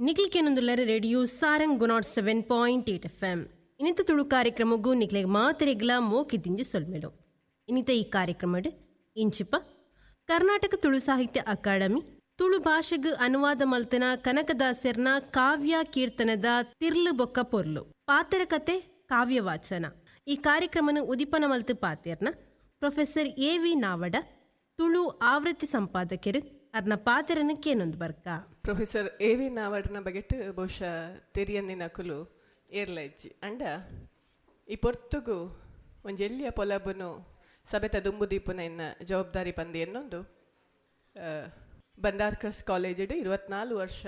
ನಿಕ್ಲಿಕೆನೊಂದುಲ್ಲರ radio Sarang 107.8 FM. ಇನ್ನಿತ Tulu ಕಾರ್ಯಕ್ರಮಗೂ ನಿಕ್ಲೆಗ್ ಮಾತೆರೆಗ್ಲ ಮೋಕಿದಿಂಜಿ ಸೊಲ್ಮೆಲು. ಇನ್ನಿತ ಈ ಕಾರ್ಯಕ್ರಮಡ್ ಇಂಚಿಪ ಕರ್ನಾಟಕ ತುಳು ಸಾಹಿತ್ಯ ಅಕಾಡೆಮಿ ತುಳು ಭಾಷೆಗ್ ಅನುವಾದ ಮಲ್ತನ ಕನಕದಾಸರ್ನ ಕಾವ್ಯ ಕೀರ್ತನದ ತಿರ್ಲು ಬೊಕ್ಕ ಪೊರ್ಲು ಪಾತೆರ ಕತೆ ಕಾವ್ಯ ವಾಚನ ಈ ಕಾರ್ಯಕ್ರಮನ ಉದಿಪನ ಮಲ್ತು ಪಾತೆರ್ನ ಪ್ರೊಫೆಸರ್ ಎ ವಿ ನಾವಡ, ತುಳು ಆವೃತ್ತಿ ಸಂಪಾದಕರು ಅರ್ನ ಪಾತೆರನ ಕೇನೊಂದು ಬರ್ಕ. ಪ್ರೊಫೆಸರ್ ಎ ವಿ ನಾವಡನ ಬಗೆಟ್ ಬಹುಶಃ ತೆರಿಯಂದಿನಕುಲು ಏರ್ಲೈಜ್ಜಿ ಅಂಡ ಈ ಪೊರ್ತುಗು ಒಂಜಿ ಎಲ್ಲಿಯ ಪೊಲಬುನು ಸಭೆತ ದುಂಬು ದೀಪುನ ಇನ್ನ ಜವಾಬ್ದಾರಿ ಪಂದಿ ಎನ್ನೊಂದು ಬಂಡಾರ್ಕರ್ಸ್ ಕಾಲೇಜಿಡ್ 24 ವರ್ಷ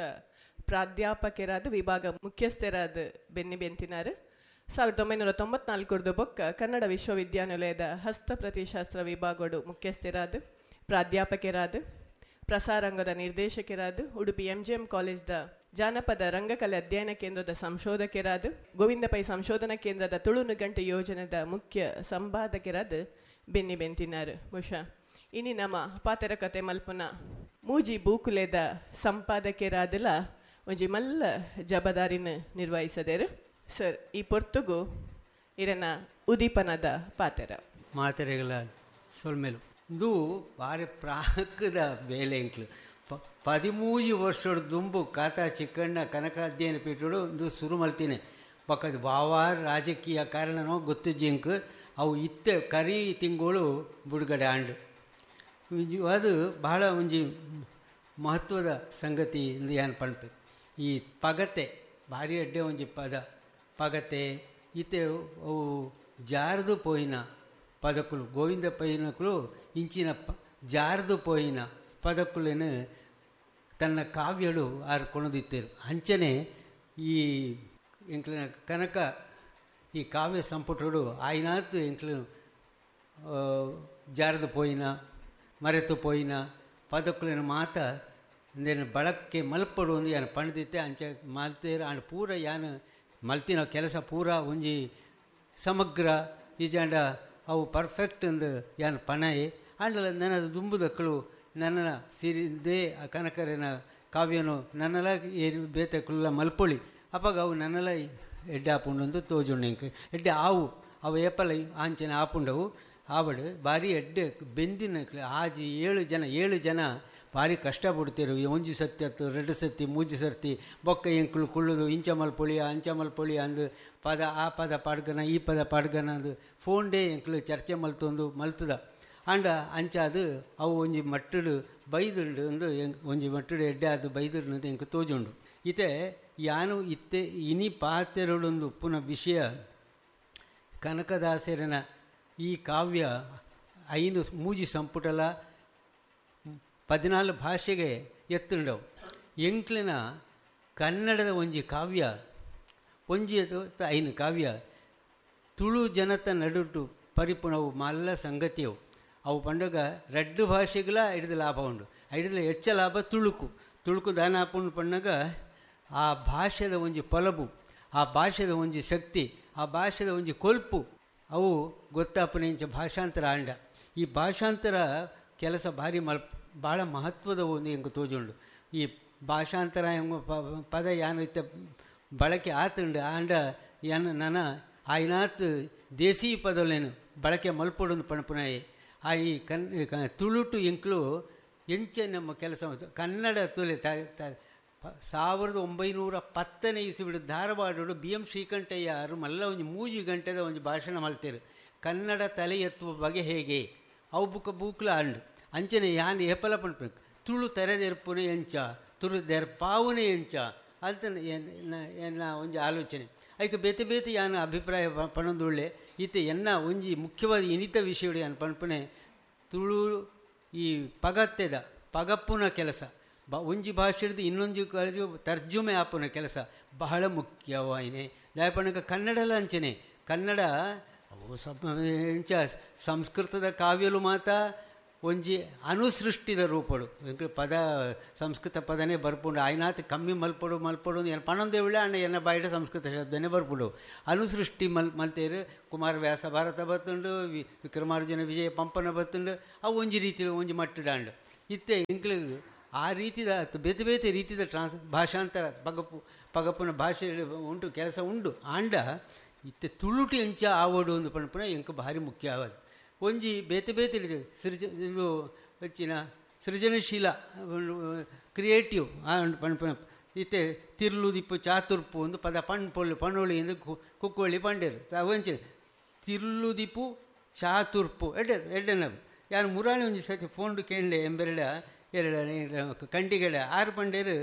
ಪ್ರಾಧ್ಯಾಪಕರಾದ ವಿಭಾಗ ಮುಖ್ಯಸ್ಥರಾದ ಬೆನ್ನಿ ಬೆಂತಿನಾರು. 1994 ಬೊಕ್ಕ ಕನ್ನಡ ವಿಶ್ವವಿದ್ಯಾನಿಲಯದ ಹಸ್ತಪ್ರತಿಶಾಸ್ತ್ರ ವಿಭಾಗಡು ಮುಖ್ಯಸ್ಥರಾದ ಪ್ರಾಧ್ಯಾಪಕರಾದ ಪ್ರಸಾರಂಗದ ನಿರ್ದೇಶಕರಾದ ಉಡುಪಿ ಎಂ ಜಿ ಎಂ ಕಾಲೇಜ್ದ ಜಾನಪದ ರಂಗಕಲೆ ಅಧ್ಯಯನ ಕೇಂದ್ರದ ಸಂಶೋಧಕರಾದ ಗೋವಿಂದ ಪೈ ಸಂಶೋಧನಾ ಕೇಂದ್ರದ ತುಳು ನುಗಂಟು ಯೋಜನೆದ ಮುಖ್ಯ ಸಂಪಾದಕರಾದ ಬೆನ್ನಿ ಬೆಂತಿನಾರು. ಬಹುಶಃ ಇನಿ ನಮ್ಮ ಪಾತೆರ ಕತೆ ಮಲ್ಪುನ ಮೂಜಿ ಬೂಕುಲೆದ ಸಂಪಾದಕರಾದಲ ಒಂಜಿ ಮಲ್ಲ ಜಬದಾರಿನ ನಿರ್ವಹಿಸದೇರು. ಸರ್, ಈ ಪೊರ್ತುಗು ಇರನ ಉದೀಪನದ ಪಾತೆರ ಮಾತೆರೆಗಳ ಸೊಲ್ಮೆಲು. ಇಂದು ಭಾರಿ ಪ್ರಾಕದ ಬೇಲೆ ಎಂಕ್ಲು 13 ವರ್ಷದ ದುಂಬು ಕಾತಾ ಚಿಕ್ಕಣ್ಣ ಕನಕ ಅಧ್ಯಯನ ಪೀಠಡು ಇಂದು ಶುರು ಮಲ್ತೀನಿ. ಪಕ್ಕದ ಬಾವಾರ ರಾಜಕೀಯ ಕಾರಣನೋ ಗೊತ್ತಿಜ್ಜಿಂಕ್ ಅವು ಇತ್ತೆ ಕರಿ ತಿಂಗಳು ಬಿಡುಗಡೆ ಆಂಡು. ಅದು ಬಹಳ ಒಂಜಿ ಮಹತ್ವದ ಸಂಗತಿ ಎಂದು ಏನು ಪಣ್ಪೆ. ಈ ಪಗತೆ ಭಾರಿ ಅಡ್ಡೆ ಒಂಜಿ ಪದ ಪಗತೆ ಇತ್ತೆ ಅವು ಜಾರದು ಪೋಯಿನ ಪದಕುಲು ಗೋವಿಂದ ಪೈನಕುಲು ಇಂಚಿನ ಜಾರದು ಪೋಯಿನ ಪದಕುಲೇನು ತನ್ನ ಕಾವ್ಯಳು ಆರು ಕೊಣದಿತ್ತೇರು. ಅಂಚನೆ ಈ ಎಂಕ್ಲಿನ ಕನಕ ಈ ಕಾವ್ಯ ಸಂಪುಟಡು ಆಯ್ನಾತ್ ಎಂಕ್ಲು ಜಾರದು ಪೋಯಿನ ಮರೆತು ಪೋಯಿನ ಪದಕುಲಿನ ಮಾತ ಅಂದೇನು ಬಳಕೆ ಮಲ್ಪಡು ಒಂದು ಯಾನು ಪಣದಿತ್ತೆ ಅಂಚ ಮಲ್ತೇರು. ಆಂಡ್ ಪೂರ ಯಾನು ಮಲ್ತಿನ ಕೆಲಸ ಪೂರ ಒಂಜಿ ಸಮಗ್ರ ಈಜಾಂಡ ಅವು ಪರ್ಫೆಕ್ಟ್ ಅಂದು ಯಾನು ಪಣಯೆ. ಆಂಡಲ ನನ್ನ ದುಂಬುದಕ್ಕಳು ನನ್ನ ಸಿರಿಂದೇ ಆ ಕನಕರಿನ ಕಾವ್ಯನು ನನ್ನಲ ಏನು ಬೇತಕ್ಕುಲ್ಲ ಮಲ್ಪೊಳಿ ಅಪ್ಪಾಗ ಅವು ನನ್ನಲ ಎಡ್ಡೆ ಆಪುಂಡೊಂದು ತೋಜುಂಡು. ಇಂಕ ಎಡ್ಡೆ ಆವು ಅವು ಏಪಲ ಆಂಚನೆ ಆಪುಂಡವು ಆವಡು ಭಾರಿ ಎಡ್ಡೆ ಬೆಂದಿನ ಆಜಿ ಏಳು ಜನ ಭಾರಿ ಕಷ್ಟ ಪಡ್ತೀರು. ಒಂಜಿ ಸತ್ತಿ ಅತ್ತು 2 ಸತ್ತಿ 3 ಸರ್ತಿ ಬೊಕ್ಕ ಎಂಕುಲು ಕುಳ್ಳುದು ಇಂಚ ಮಲ್ಪೊಳಿ ಅಂಚ ಮಲ್ಪೊಳಿ ಅಂದು ಪದ ಆ ಪದ ಪಾಡ್ಗನ ಈ ಪದ ಪಾಡ್ಗನ ಅಂದು ಫೋನ್ ಡೇ ಎಂಕುಲು ಚರ್ಚೆ ಮಲ್ತೊಂದು ಮಲ್ತದ. ಆಂಡ ಅಂಚಾದು ಅವು ಒಂಜಿ ಮಟ್ಟಡು ಬೈದುಂಡು ಅಂದು ಒಂಜಿ ಮಟ್ಟಡು ಎಡ್ಡೆ ಅದು ಬೈದುಂಡು ಅಂತ ಎಂಕು ತೋಜುಂಡು. ಇತ್ತೆ ಯಾನು ಇತ್ತೆ ಇನಿ ಪಾತೆರಡೊಂದು ಉಪ್ಪುನ ವಿಷಯ ಕನಕದಾಸರನ ಈ ಕಾವ್ಯ 5 ಮೂಜಿ ಸಂಪುಟಲ 14 ಭಾಷೆಗೆ ಎತ್ತುಂಡವು. ಎಂಕ್ಲಿನ ಕನ್ನಡದ ಒಂಜಿ ಕಾವ್ಯ ಒಂಜಿ 5 ಕಾವ್ಯ ತುಳು ಜನತ ನಡುಟು ಪರಿಪುಣವು ಮಲ್ಲ ಸಂಗತಿಯವು. ಅವು ಪಂಡಗ 2 ಭಾಷೆಗಳ ಹಿಡಿದು ಲಾಭ ಉಂಡು. ಹಿಡಿದು ಹೆಚ್ಚ ಲಾಭ ತುಳುಕು ತುಳುಕು ದಾನ ಆಪುಂಡು ಪಣ್ಣಗ ಆ ಭಾಷೆದ ಒಂಜಿ ಪೊಲಬು, ಆ ಭಾಷೆದ ಒಂಜಿ ಶಕ್ತಿ, ಆ ಭಾಷೆದ ಒಂಜಿ ಕೊಲ್ಪು ಅವು ಗೊತ್ತಾಪುನ ಇಂಚ ಭಾಷಾಂತರ ಆಂಡ. ಈ ಭಾಷಾಂತರ ಕೆಲಸ ಭಾರಿ ಭಾಳ ಮಹತ್ವದ ಒಂದು ಎಂಕು ತೋಜುಂಡು. ಈ ಭಾಷಾಂತರ ಎಂಬ ಪದ ಯಾನು ಇತ್ತ ಬಳಕೆ ಆತುಂಡು ಆಂಡ ಯಾನು ನನ್ನ ಆಯ್ನಾತ್ ದೇಸೀ ಪದಲೇನು ಬಳಕೆ ಮಲ್ಪೊಡೊಂದು ಪಣಪುನಾಯಿ. ಆ ಈ ತುಳುಟು ಎಂಕ್ಲು ಎಂಚೆ ನಮ್ಮ ಕೆಲಸ ಕನ್ನಡ ತುಲೆ 1910ನೇ ಇಸುಬಿಡು ಧಾರವಾಡಡು ಬಿ ಎಂ ಶ್ರೀಕಂಠಯ್ಯರು ಮಲ್ಲ ಒಂಜಿ 3 ಗಂಟೆದ ಒಂಜಿ ಭಾಷಣ ಮಲ್ತೇರು ಕನ್ನಡ ತಲೆ ಎತ್ತುವ ಬಗೆ ಹೇಗೆ ಅವು ಬುಕ್ಕ ಬೂಕ್ಲ ಅಂಡು. ಅಂಚನೆ ಯಾನ್ ಏಪಲ ಪಣ್ಪು ತುಳು ತೆರೆದೆರ್ಪುನೆ ಎಂಚ ತುಳು ದೆರ್ಪಾವುನೆ ಎಂಚ ಅಂತ ಎನ್ನ ಒಂಜಿ ಆಲೋಚನೆ. ಐಕೆ ಬೇತೆ ಬೇತೆ ಯಾನ ಅಭಿಪ್ರಾಯ ಪಣೊಂದುಳ್ಳೆ. ಈತೆ ಎನ್ನ ಒಂಜಿ ಮುಖ್ಯವಾದ ಇನಿತ ವಿಷಯಡು ಯಾನ್ ಪಣ್ಪುನೆ ತುಳು ಈ ಪಗತ್ತೆದ ಪಗಪ್ಪುನ ಕೆಲಸ ಒಂಜಿ ಭಾಷೆಡ್ದು ಇನ್ನೊಂಜಿ ಕಾಲೇಜು ತರ್ಜುಮೆ ಆಪುನ ಕೆಲಸ ಬಹಳ ಮುಖ್ಯವಾಯಿನೆ. ದಾಯಪಣಕ ಕನ್ನಡಲ ಅಂಚನೆ ಕನ್ನಡ ಅವು ಎಂಚ ಸಂಸ್ಕೃತದ ಕಾವ್ಯಲು ಮಾತ ಒಂಜಿ ಅನುಸೃಷ್ಟಿದ ರೂಪಡು ಎಂಕ್ಲು ಪದ ಸಂಸ್ಕೃತ ಪದನೇ ಬರ್ಪುಂಡು ಆಯ್ನಾತ್ ಕಮ್ಮಿ ಮಲ್ಪಡು ಮಲ್ಪಡು ಏನು ಪಣೊಂದೇವುಳ್ಳೆ ಅಣ್ಣ ಎನ್ನ ಬಾಯಿಡ ಸಂಸ್ಕೃತ ಶಬ್ದನೇ ಬರ್ಪುಂಡು. ಅನುಸೃಷ್ಟಿ ಮಲ್ತೇರು ಕುಮಾರವ್ಯಾಸ ಭಾರತ ಬತ್ತುಂಡು, ವಿಕ್ರಮಾರ್ಜುನ ವಿಜಯ ಪಂಪನ ಬತ್ತುಂಡು, ಅವು ಒಂಜಿ ರೀತಿ ಒಂಜಿ ಮಟ್ಟುಡಾಂಡು. ಇತ್ತೆ ಎಂಕ್ಲು ಆ ರೀತಿದ ಬೇತೆ ಬೇತೆ ರೀತಿದ ಭಾಷಾಂತರ ಪಗಪುನ ಭಾಷೆ ಉಂಟು ಕೆಲಸ ಉಂಡು. ಆಂಡ ಇತ್ತೆ ತುಳುಟಿ ಅಂಚ ಆವಡು ಒಂದು ಪನ್ಪುನ ಎಂಕ್ ಭಾರಿ ಮುಖ್ಯ ಆವದು. ಒಂಜಿ ಬೇತೆ ಬೇತೆ ರೀತಿ ಇದು ಹೆಚ್ಚಿನ ಸೃಜನಶೀಲ ಕ್ರಿಯೇಟಿವ್ ಪನ್ಪುನ ಇತ್ತೆ ತಿರ್ಲು ದಿಪ್ಪು ಚಾತುರ್ಪು ಒಂದು ಪದ ಪಣ್ಪೊಳ್ಳಿ ಪಣೋಳಿ ಎಂದು ಕುಕ್ಕೋಳಿ ಪಂಡೇರು ಒಂಚೆ ತಿರ್ಲು ದಿಪ್ಪು ಚಾತುರ್ಪು ಎಡ್ಡೆ ಎಡ್ಡೆನ ಯಾರು ಮುರಾಣಿ ಒಂಜಿ ಸತಿ ಫೋನ್ಡು ಕೇಂಡೆ ಎಂಬೆರಡ ಎರಡ ಕಂಡಿಗೆಡ ಆರು ಪಂಡೇರು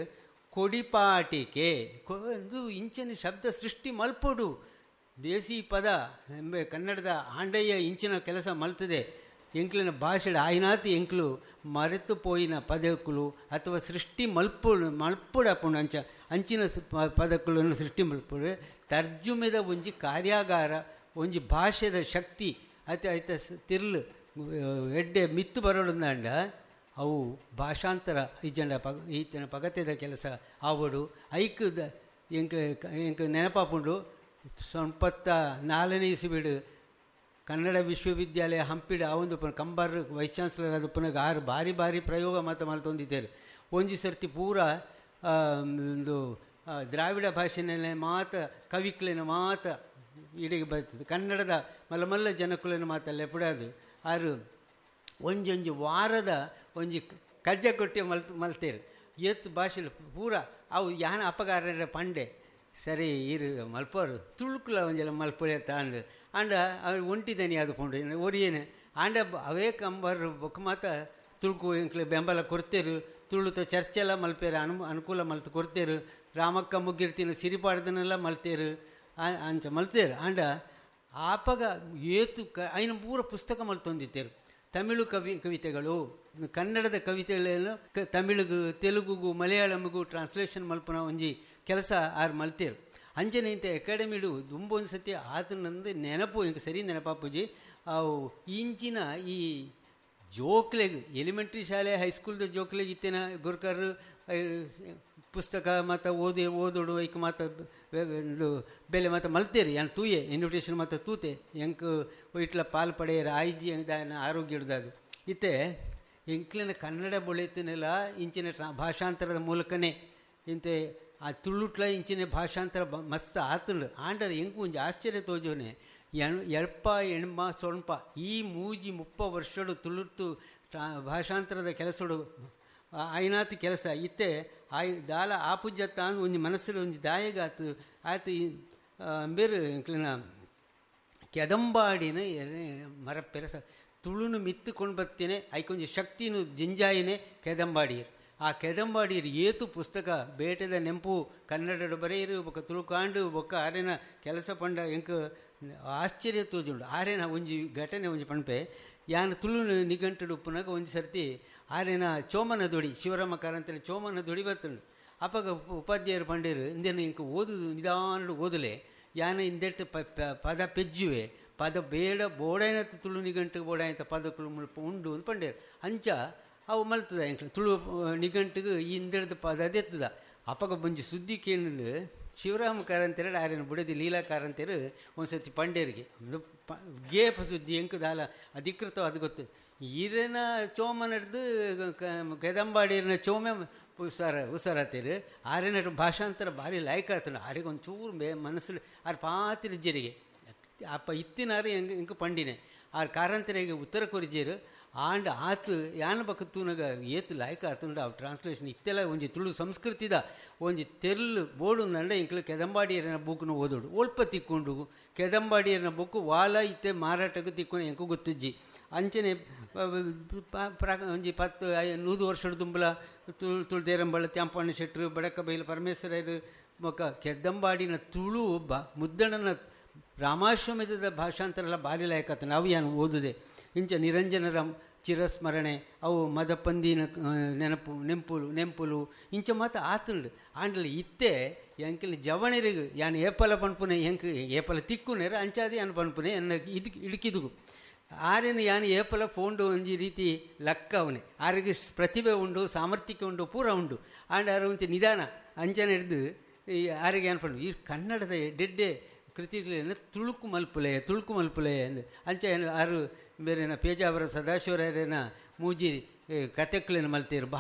ಕೊಡಿಪಾಟಿಕೆ ಒಂದು ಇಂಚಿನ ಶಬ್ದ ಸೃಷ್ಟಿ ಮಲ್ಪೊಡು ದೇಸಿ ಪದ ಎಂಬ ಕನ್ನಡದ ಆಂಡಯ್ಯ ಇಂಚಿನ ಕೆಲಸ ಮಲ್ತದೆ. ಎಂಕ್ಲಿನ ಭಾಷೆ ಆಯ್ನಾತಿ ಎಂಕ್ಲು ಮರೆತು ಪೋಯಿನ ಪದಕ್ಕಲು ಅಥವಾ ಸೃಷ್ಟಿ ಮಲ್ಪೊಡು ಮಲ್ಪೊಡಪ್ಪುಂಡು ಅಂಚ ಅಂಚಿನ ಪದಕ್ಕುలను ಸೃಷ್ಟಿ ಮಲ್ಪೊಡು ತರ್ಜುಮೆದ ಒಂಜಿ ಕಾರ್ಯಾಗಾರ ಒಂಜಿ ಭಾಷೆದ ಶಕ್ತಿ ಅತ ಐತ ತಿರ್ಲು ಎಡ್ಡೆ ಮಿತ್ತು ಬರೋಡಂದಾಂಡ ಅವು ಭಾಷಾಂತರ ಇಜ್ಜಂಡ ಈತನ ಪಗತೆದ ಕೆಲಸ ಆವಡು ಐಕ್ದ ಎಂಕ್ ಎಂಕ್ ನೆನಪಾಪುಂಡು. 94ನೇ ಇಸುಬಿಡು ಕನ್ನಡ ವಿಶ್ವವಿದ್ಯಾಲಯ ಹಂಪಿಡು ಆ ಒಂದು ಕಂಬಾರ್ ವೈಸ್ ಚಾನ್ಸಲರ್ ಅದು ಪುನಃ ಆರು ಭಾರಿ ಭಾರಿ ಪ್ರಯೋಗ ಮಾತು ಮಲ್ತೊಂದಿದ್ದಾರೆ. ಒಂಜಿ ಸರ್ತಿ ಪೂರ ಒಂದು ದ್ರಾವಿಡ ಭಾಷೆನಲ್ಲೇ ಮಾತ ಕವಿಕ್ಲೇನ ಮಾತ ಇಡೀ ಬರ್ತದೆ ಕನ್ನಡದ ಮಲ್ಲ ಮಲ್ಲ ಜನಕುಲನ ಮಾತಲ್ಲೇ ಪುಡಾದು ಆರು ಒಂಜೊಂಜಿ ವಾರದ ಒಂಜಿ ಕಜ್ಜ ಕೊಟ್ಟಿ ಮಲ್ತೇರು ಏತ್ ಭಾಷೆ ಪೂರ ಅವು ಯಾನ ಅಪಗಾರ ಪಂಡೆ ಸರಿ ಇರು ಮಲ್ಪೋರು ತುಳುಕುಲ ಒಂಜೆಲ್ಲ ಮಲ್ಪೊಳೆ ತಾಂದು ಆಂಡ ಅವ್ರು ಒಂಟಿದನಿ ಅದು ಪುಂಡು ಒರಿಯೇನೆ ಆಂಡ ಅವೇ ಕಂಬರ್ ಬೊಕ್ಕ ಮಾತ ತುಳುಕು ಎಂಕ್ಲೆ ಬೆಂಬಲ ಕೊರ್ತೇರು ತುಳುತ ಚರ್ಚೆಲ್ಲ ಮಲ್ಪೇರು ಅನುಕೂಲ ಮಲ್ತು ಕೊರ್ತೇರು ರಾಮಕ್ಕ ಮುಗ್ಗಿರ್ತಿನ ಸಿರಿಪಾಡ್ದನೆಲ್ಲ ಮಲ್ತೇರು ಅಂಚ ಮಲ್ತೇರು. ಆಂಡ ಆಪಗ ಏತು ಐನ ಪೂರ ಪುಸ್ತಕ ಮಲ್ತೊಂದಿತ್ತೇರು. ತಮಿಳು ಕವಿತೆಗಳು ಕನ್ನಡದ ಕವಿತೆಗಳನ್ನು ತಮಿಳಿಗೂ ತೆಲುಗುಗೂ ಮಲಯಾಳಂಗೂ ಟ್ರಾನ್ಸ್ಲೇಷನ್ ಮಲ್ಪುನ ಒಂಜಿ ಕೆಲಸ ಆರು ಮಲ್ತೇರು. ಅಂಚನೆ ಇಂಥ ಅಕಾಡೆಮಿಡು ದುಂಬೊಂದು ಸತಿ ಆತನಂದು ನೆನಪು ಇಂಕ ಸರಿ ನೆನಪಾಪುಜಿ. ಅವು ಇಂಚಿನ ಈ ಜೋಕ್ಲೆಗ್ ಎಲಿಮೆಂಟ್ರಿ ಶಾಲೆ ಹೈಸ್ಕೂಲ್ದ ಜೋಕ್ಲೆಗ್ ಇತ್ತೇನ ಗುರ್ಕರ್ ಪುಸ್ತಕ ಮತ್ತು ಓದಿ ಓದೋಡು ಐಕ್ ಮಾತ ಬೆಲೆ ಮಾತ ಮಲ್ತೇರಿ ಯಾನ್ ತೂಯೆ ಇನ್ವಿಟೇಷನ್ ಮಾತ ತೂತೆ ಎಂಕ್ ಇಟ್ಲ ಪಾಲ್ ಪಡೆಯರು ಆಯ್ಜಿ ಆರೋಗ್ಯ ಹಿಡ್ದದು ಇತ್ತೆ ಎಂಕ್ಲಿನ ಕನ್ನಡ ಬೊಳೆತಿನೆಲ್ಲ ಇಂಚಿನ ಭಾಷಾಂತರದ ಮೂಲಕನೇ ಇಂತೆ ಆ ತುಳುಟ್ಲ ಇಂಚಿನ ಭಾಷಾಂತರ ಮಸ್ತ್ ಆತುಂಡು. ಆಂಡರ್ ಎಂಕು ಒಂಜಿ ಆಶ್ಚರ್ಯ ತೋಜೋನೆ ಎಳ್ಪ ಎಣ್ಮ ಸೊಣ್ಪ ಈ ಮೂಜಿ 30 ವರ್ಷಡು ತುಳುಟ್ಟು ಭಾಷಾಂತರದ ಕೆಲಸಡು ಆಯ್ನಾತಿ ಕೆಲಸ ಇತ್ತೆ ಆಯ್ ದಾಲ ಆಪುಜ್ಜತ್ತ ಅಂದ್ ಒಂಜಿ ಮನಸ್ಸು ಒಂಜಿ ದಾಯಗಾತು ಆತು ಬೇರು ಎಂಕ್ಲಿನ ಕೆದಂಬಾಡಿನ ಮರ ಪೆರಸ ತುಳುನು ಮಿತ್ತುಕೊಂಡು ಬರ್ತೇನೆ ಐಕೊಂಜಿ ಶಕ್ತಿನು ಜಿಂಜಾಯಿನೇ ಕೆದಂಬಾಡಿಯರು. ಆ ಕೆದಂಬಾಡಿಯರು ಏತು ಪುಸ್ತಕ ಬೇಟೆದ ನೆಂಪು ಕನ್ನಡಡು ಬರೆಯರು ಬೊಕ್ಕ ತುಳುಕಾಂಡು ಬೊಕ್ಕ ಆರೇನ ಕೆಲಸ ಪಂಡ ಎಂಕ್ ಆಶ್ಚರ್ಯ ತೋಜುಂಡು. ಆರೇನ ಒಂಜಿ ಘಟನೆ ಒಂಜಿ ಪಣಪೆ ಯಾನ್ ತುಳು ನಿಘಂಟುಡು ಉಪ್ಪುನಾಗ ಒಂಜಿ ಸರ್ತಿ ಆರೇನ ಚೋಮನ ದೊಡಿ ಶಿವರಾಮ ಕಾರಂತಲ್ಲಿ ಚೋಮನ ದೊಡಿ ಬರ್ತುಂಡು. ಅಪಗ ಉಪಾಧ್ಯಾಯರು ಪಂಡೇರು ಇಂದೇನು ಇಂಕ ಓದು ನಿಧಾನಡು ಓದಲೆ ಯಾನ ಇಂದೆಟ್ಟು ಪದ ಪೆಜ್ಜುವೆ ಪದ ಬೇಡ ಬೋಡಾಯನತ್ತ ತುಳು ನಿಘಂಟಿಗೆ ಬೋಡಾಯಂತ ಪದಕ್ಕಳು ಮುಲ್ಪ ಉಂಡು ಅಂತ ಪಂಡೇರು. ಅಂಚ ಅವು ಮಲ್ತದ ಎಂಕ್ಲ ತುಳು ನಿಘಂಟಿಗೆ ಈ ಇಂದೆಡ್ದ ಪದ ಅದೆತ್ತದ. ಅಪಗ ಬಂಜಿ ಸುದ್ದಿ ಕೇಂಡು ಶಿವರಾಮ ಕಾರಂತರು ಆರೇನು ಬುಡದಿ ಲೀಲಾ ಕಾರಂತರು ಒಂದು ಸರ್ತಿ ಪಂಡೇರಿಗೆ ಗೇಪ ಸುದ್ದಿ ಎಂಕ್ ದಾಲ ಅಧಿಕೃತವಾದ ಗೊತ್ತು ಈರನ ಚೋಮ ನಡೆದು ಕೆದಂಬಾಡಿರನ ಚೋಮೆ ಹುಷಾರಾತೇರು ಆರೇನ ಭಾಷಾಂತರ ಭಾರಿ ಲಾಯಕ ಆತನು. ಆರಿಗೆ ಒಂಚೂರು ಮನಸ್ಸು ಆರು ಪಾತಿರ ಜರಿಗೆ ಅಪ್ಪ ಇತ್ತಿನಾರು ಎಂಗ್ ಎಂಕ್ ಪಂಡಿನೆ ಆರು ಕಾರಂತರಿಗೆ ಉತ್ತರ ಕೊರಿಜೇರು. ಆಂಡ ಆತು ಯಾನ ಬಕ್ಕ ತೂನಗ ಏತು ಲಾಯಕ ಆತುಂಡು ಆ ಟ್ರಾನ್ಸ್ಲೇಷನ್ ಇತ್ತೆಲ್ಲ ಒಂಜಿ ತುಳು ಸಂಸ್ಕೃತಿದ ಒಂಜಿ ತೆರ್ಲು ಬೋಡು ಅಂಡ ಇಂಕ್ಲು ಕೆದಂಬಾಡಿಯರನ ಬುಕ್ನು ಓದೋಡು ಒಲ್ಪ ತಿಕ್ಕೊಂಡು ಕೆದಂಬಾಡಿಯರನ ಬುಕ್ಕು ವಾಲ ಇತ್ತೆ ಮಾರಾಟಕ್ಕೆ ತಿಕ್ಕೊಂಡು ಎಂಕು ಗೊತ್ತಿಜ್ಜಿ. ಅಂಚನೆ ಒಂಜಿ 10 100 ವರ್ಷದ ದುಂಬಲ ತುಳು ದೇರಂಬಳ ತ್ಯಾಂಪಣ್ಣ ಶೆಟ್ಟರು ಬಡಕಬೈಲು ಪರಮೇಶ್ವರರು ಮೊಕ್ಕ ಕೆದಂಬಾಡಿನ ತುಳು ಮುದ್ದಣನ ರಾಮಾಶ್ವಮೇಧದ ಭಾಷಾಂತರ ಎಲ್ಲ ಭಾರಿ ಲಾಯಕ ನಾವು ಏನು ಓದುದೆ. ಇಂಚ ನಿರಂಜನರ ಚಿರಸ್ಮರಣೆ ಅವು ಮದಪಂದಿನ ನೆನಪು ನೆಂಪುಲು ಇಂಚ ಮಾತ ಆತುಂಡು. ಆಂಡಲ ಇತ್ತೆ ಎಂಕಿನ ಜವಣರಿಗೆ ಯಾನ್ ಏಪಲ ಪನ್ಪುನೆ ಎಂಕ್ ಏಪಲ ತಿಕ್ಕುನೇರು ಅಂಚಾದಿ ಯಾನ್ ಪನ್ಪುನೆ ಎನ್ನ ಇದು ಇಡುಕಿದುಗು ಆರೇನು ಯಾನ್ ಏಪಲ ಫೋಂಡು ಒಂಜಿ ರೀತಿ ಲಕ್ಕ ಅವನೇ ಆರಿಗೆ ಪ್ರತಿಭೆ ಉಂಡು ಸಾಮರ್ಥ್ಯಕ್ಕೆ ಉಂಡು ಪೂರ ಉಂಡು. ಆಂಡ ಆರು ಒಂಚೆ ನಿಧಾನ ಅಂಚನೆ ಹಿಡ್ದು ಈ ಆರಿಗೆ ಏನು ಪಂಡು ಈ ಕನ್ನಡದ ಡೆಡ್ಡೆ ಕೃತಿಗಳನ್ನು ತುಳುಕು ಮಲ್ಪುಲೆ ತುಳುಕು ಮಲ್ಪುಲೆ ಅಂದು ಅಂಚ ಏನು ಆರು ಬೇರೆನ ಪೇಜಾವರ ಸದಾಶಿವರಾಯರೇನ ಮೂಜಿ ಕತೆಕ್ಲೇನು ಮಲ್ತೇರು.